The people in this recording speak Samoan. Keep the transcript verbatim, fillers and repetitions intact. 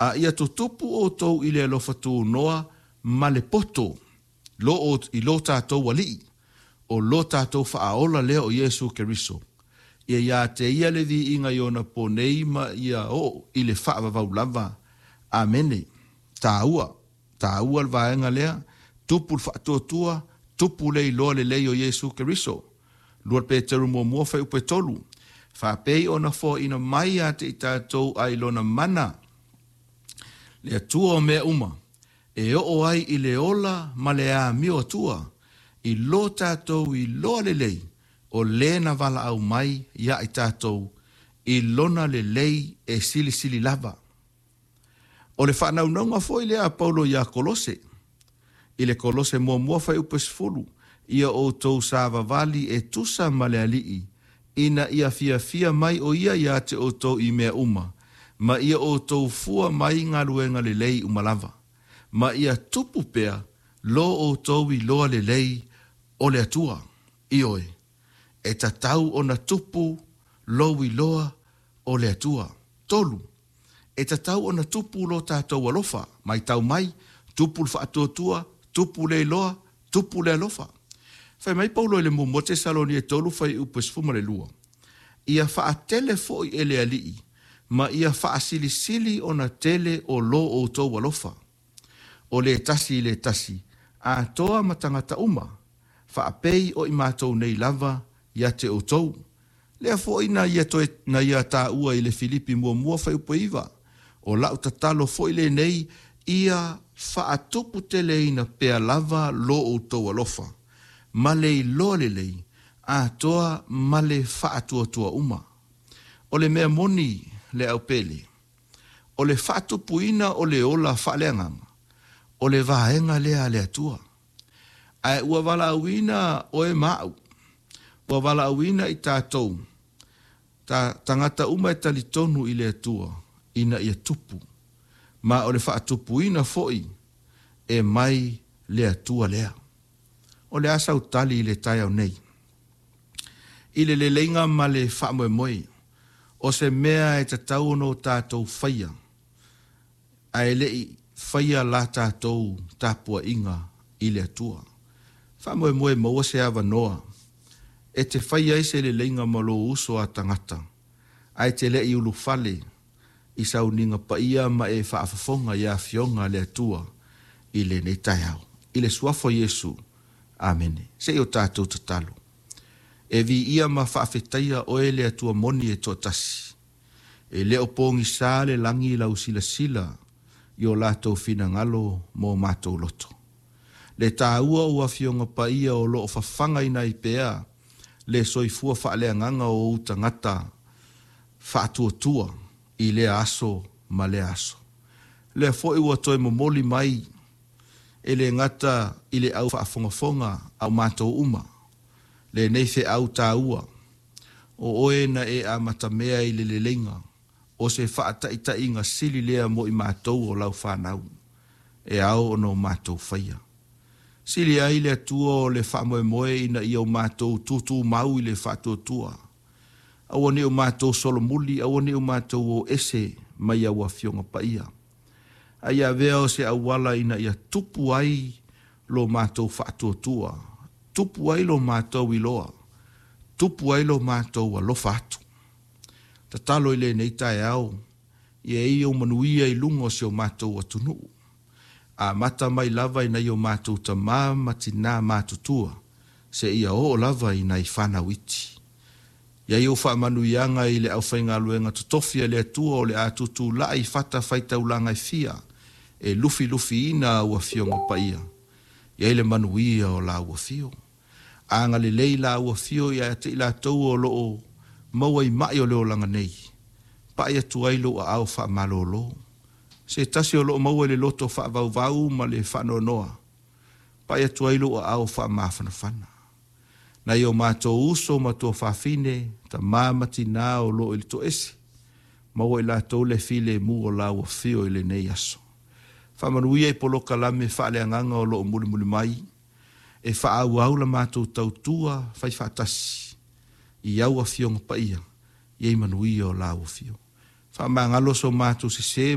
A ia tutupu outou i le alofa tunoa ma le poto lo, i lo tatou Alii, o lo tatou Faaola lea o Iesu Keriso. Ia ia te ia le viiga i ona ponei ma ia oo i le faavavau lava. Amene. Taua, taua le vaega lea, tupu le faatuatua, tupu le iloa lelei o Iesu Keriso. Lua Peteru muamua fuaiupu e tolu. Faapei ona foaina mai ia te i tatou ai lona mana, le Atua o mea uma, e oo ai i le ola ma le amio Atua, i lo tatou iloa lelei, o le na valaau mai ia i tatou, i lona lelei e silisili lava. O le faanaunauga foi lea a Paulo ia Kolose, i le Kolose muamua fuaiupu e sefulu, ia outou savavali e tusa ma le Alii, ina ia fiafia mai o ia ia te outou i mea uma, ma ia outou fua mai galuega lelei uma lava, ma ia tupu pea lo outou iloa lelei o le Atua. Ioe, e tatau ona tupu lou iloa o le Atua. Tolu, e tatau ona tupu lo tatou alofa, matau mai, tupu le faatuatua, tupu le iloa, tupu le alofa. Fai mai Paulo i le muamua Tesalonia e tolu fuaiupu e sefulu ma le lua, ia faatele foi e le Alii, ma ia faasilisili ona tele o lo outou alofa, o le tasi i le tasi, atoa ma tagata uma, faapei o i matou nei lava ia te outou. Lea foi na ia, toe, na ia taua i le Filipi muamua fuaiupu e iva, o lau tatalo foi lenei, ia faatuputeleina pea lava lo outou alofa, ma le iloa lelei, atoa ma le faatuatua uma. O le mea moni le aupele, o le faatupuina o le ola faaleagaga, o le vaega lea a le Atua. Ae ua valaauina oe ma au, ua valaauina i tatou, ta, tagata uma e talitonu i le Atua, ina ia tupu, ma o le faatupuina foi e mai le Atua lea. O le a sautali i le taeao nei, i le leleiga ma le faamoemoe, o se mea e tatau ona o tatou faia, ae lei faia la tatou tapuaiga i le Atua. Faamoemoe maua se avanoa, e te faia ai se leleiga ma lou uso a tagata, ae te lei ulufale i sauniga paia ma e faafofoga i afioga a le Atua i lenei taeao. I le suafa o Iesu, amene. Se i o tatou tatalo. E viia ma faafetaia oe le Atua moni e toatasi. E le o pogisa le lagi lau silasila i o latou finagalo mo matou loto. Le taua o afioga paia o loo fafagaina ai pea le soifua faaleagaga o ou tagata faatuatua i lea aso ma lea aso. Lea foi ua toe momoli mai e le gata i le au faafogafoga a o matou uma, lenei feau taua, o oe na e amatamea i le leleiga, o se faataitaiga sili lea mo i matou o lau fanau, e ao ona o matou faia. Sili ai le Atua o le faamoemoe ina ia o matou tutumau i le faatuatua, aua ne i o matou solomuli, aua ne i o matou o ese mai au afioga paia. A ia avea o se auala ina ia tupu ai lo matou faatuatua, tupu ai lo matou iloa, tupu ai lo matou alofa atu. Tatalo i lenei taeao, ia i ou manuia i luga o si o matou atunuu. Amata mai lava i nai o matou tamā ma tinā matutua, seia oo lava i nai fanau iti. Ia i ou faamanuiaga i le aufaigaluega totofi a le Atua o le a tutulai i fatafaitaulaga e fia, e lufilufiina au afioga paia. Ia i le manuia o lau afio. Agalelei lau afio ia te i latou o loo maua i mai o le olaga nei. Pai atu ai lou aao faamalolo. Se tasi o loo maua i le loto faavauvau ma le faanoanoa. Pai atu ai lou aao faamafanafana. Nai o matou uso ma tuafafine, tamā ma tinā o loo i le toese, maua i latou le filemu o lau afio i lenei aso. Faamanuia i polokalame faaleagaga o loo mulimuli mai, e faaauau la matou tautua faifaatasi i au afioga paia, ia i manuia o lau afio. Faamagalo so matou sesē